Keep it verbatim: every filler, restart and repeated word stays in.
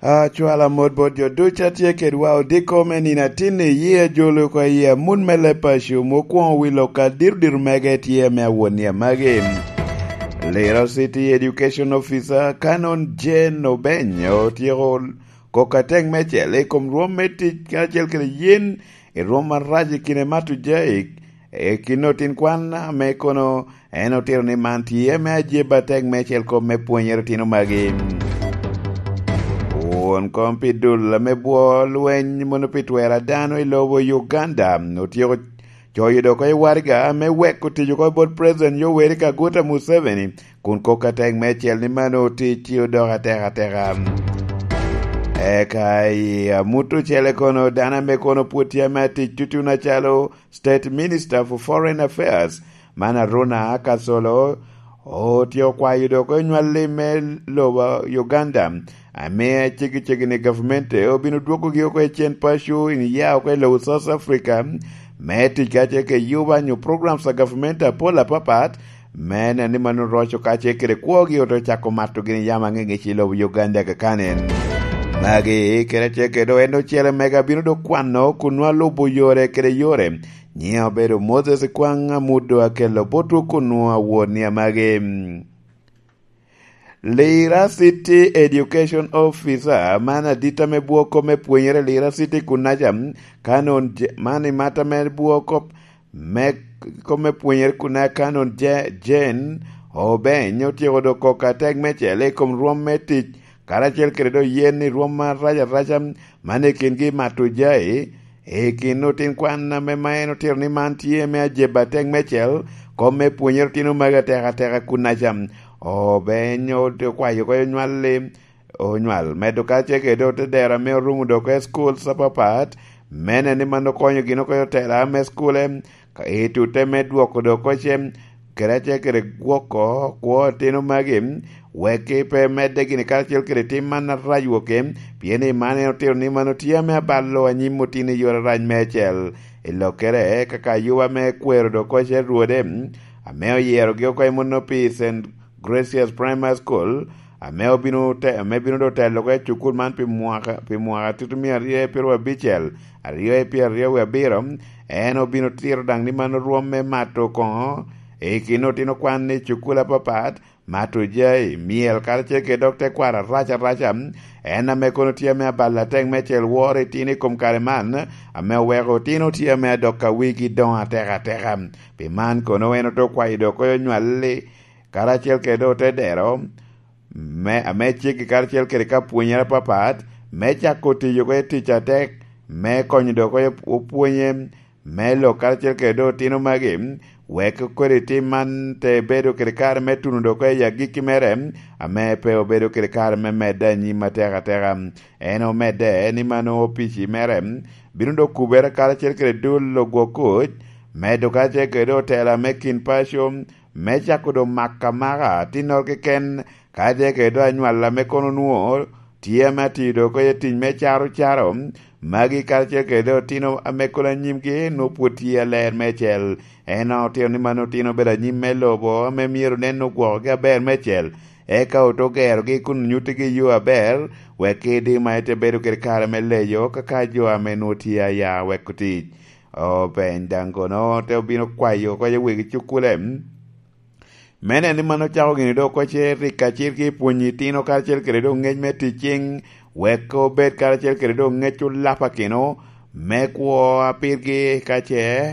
Acwala mot bot jo ducu a tye kedwa odiko me nino atin i yie ajolo oko i yie amut me leb paco, mukwoŋo wi lok adiro diro mege tye me awot ni amagi. Lira City Education Officer Canon Jane Obeny otyeko kok atek mecel i kom rwom me tic karacel kede yen i rwom arac i kine Mato Jaik, i kin otin kwan ame kono en otito ni man tye me ajeb atek mecel kop me pwonyere otino magi. Won kom pi dul ame bwo lweny mono pi twero a dano i lobo Uganda otyeko coyo dok oko i waraga me weko tic oko bot President Yoweri Kaguta Museveni, kun kok atek mecel ni mano tic ci odok atek ateka. Eka i amut ocele kono dano ame kono pwod tye ame atic tutuno acalo State Minister for Foreign Affairs, man Aruna Akasolo, otyeko kwayo dok onywalli me lobo Uganda, ame ceggi ceggi ni gavmente obino dwogogi oko i cen paco in ya oko i lobo South Africa, me tic kacel ke yuba nyo programs a gavmente apol apapat, me neno ni mano roco kacel kede kwogi ote cako mato gini yam aŋeŋec i lobo Uganda kakanen. Magi kede acel kede en ocele mega bino dok kwano kun nwa lubo yore kede yore. Nyiŋe obedo Moses Kwaŋ Amudo akelo botwu kun nwa awot ni amagi. Lira City Education Officer, man adit ame bwoko me pwenyere Lira City kunaca, Canon Je-, man i mata me bwoko me kom me pwenyere kun a Canon Je-, Jane Obeny otyeko dok kok atek mecel i kom rwom me tic, karacel kede dok yen i rwom arac araca man i kingi Mato Jai, i kin otin kwan ame ma en otito ni man tye me ajeb atek mecel, kom me pwonyere otino magi atek ateka kunaca. Obeny okwayo oko onywalli, onywal medo kacel kede otedero ame orumo dok oko i schools apapat, me neno ni man okonyo gin oko i otela me school-e, ka i tute me dwoko dok oko ce, kede acel kede gwoko kwo otino magi, wek pe medde gini karacel kede tim man arac woke, pien i man en otito ni man otye ame abalo anyim otino i yore arac meicel. I lokkere, kaka ayuba me kwero dok oko ce rwode, ame oyerogi oko i muno pi Saint Gracious Primary School, ame obino te-, ame bino dok telo oko i cukul man pi mwaka, pi mwaka tutumia aryo i pyeraryo abicel, aryo i pyeraryo wie abiro, en obino tito daŋ ni man orwom me mato koŋo i kin otino kwan i cukul apapat, mato jai, myel, karacel kede dok tekwaro arac araca, en ame kono tye ame abalo atek mecel woro itino i kom kare man, ame oweko otino tye ame adok a wigi doŋ atek ateka. Pi man kono en ote kwayo dok oko onywalli, karacel kede otedero, me, ame ceggi karacel kede ka pwonyere apapat, me cako tiyo oko i tic atek, me konyo dok oko opwonye, me lok karacel kede dok otino magi, wek kodi tim man te bedo kede kare me tuno dok oko i agikki mere, ame pe obedo kede kare me medde anyim atek ateka. En omedde ni mano opici mere bino dok kubere karacel kede dul ogwok kuc, medo karacel kede otela me kin paco, me cako doŋ maka maka atinnoro keken, ka tye kede doŋ anywalla me kono nwoŋo tye ame atiyo doŋ oko i tic me caro caro, magi karacel kede doŋ otino ame kono anyimgi nwoŋo pwod tye aler meicel. En otino ni mano otino obedo anyim me lobo ame myero nen ogwokogi aber meicel, eka ote ogerogi kun onyuttigi yo aber, wek kede ma ite bedo kede kare me leyo kaka jo ame nwoŋo tye aya weko tic. Obeny daŋ kono te obino kwayo oko i wegi cukule. Me neno ni mano ocako gini dok oko ce rik acir ki pwonyo itino karacel kede dok ngec me tic cing, wek obed karacel kede dok ngec olapakino me kwo a pirgi ka ce